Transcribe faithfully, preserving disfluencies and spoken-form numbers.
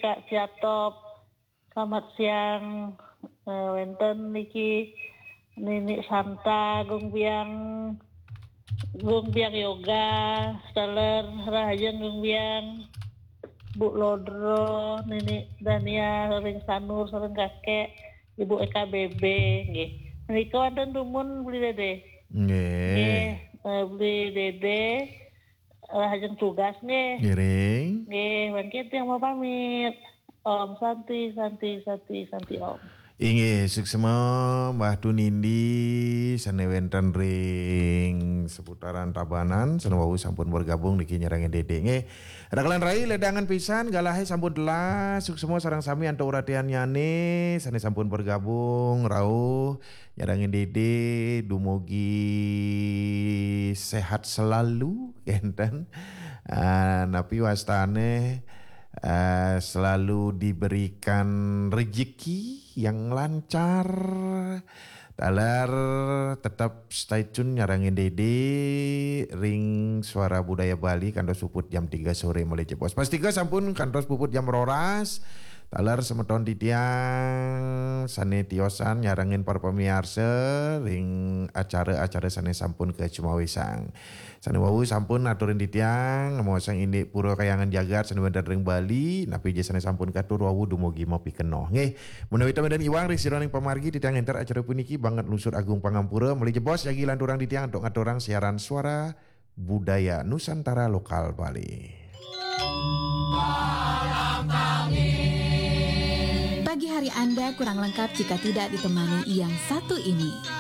Kak Siatop. Selamat siang. Eh, wénten niki Nini Santa, Gung Biang, Gung Biang Yoga, Steller, rahajeng Gung Biang, Bu Lodro, Nini Dania, sareng Sanur, sareng Kakek, Ibu E K B B, nggih. Menika wonten dumun Beli Dede. Nggih. Nggih, eh, Beli Dede, rahajeng tugas nggih. Ngiring. Nggih, mangkin tiyang mau pamit. Om Santi, Santi, Santi, Santi Om. Inggih, suksma Mbah Tunindi sané wénten ring seputaran Tabanan, sané wau sampun bergabung niki nyarengin Dede nggih. Rakelan rai ledangan pisan, galahé sampun telas, suksma sareng sami antuk uratiannyané sané sampun bergabung rauh nyarengin Dede, dumugi sehat selalu, kénten. Ah, napi wastané, eh, selalu diberikan rezeki yang lancar. Taler tetap stay tune nyarengin Dede ring Suara Budaya Bali kantos puput jam tiga sore malih jebos. Pastika sampun kantos puput jam roras. Taler semeton titiang sané tiosan nyarengin para pamiarsa ring acara-acara sané sampun kacumawisang. Sané wau sampun aturin titiang, maosang indik Pura Kahyangan Jagat sané wénten ring Bali, napi ja sané sampun katur wau dumugi mapikenoh. Nggih, menawi ten wénten iwang ring sira ring pamargi titiang ngénter acara puniki banget nunas agung pangampura, malih jebos jagi lanturang titiang antuk ngaturang siaran Suara Budaya Nusantara Lokal Bali. Pagi hari Anda kurang lengkap jika tidak ditemani yang satu ini.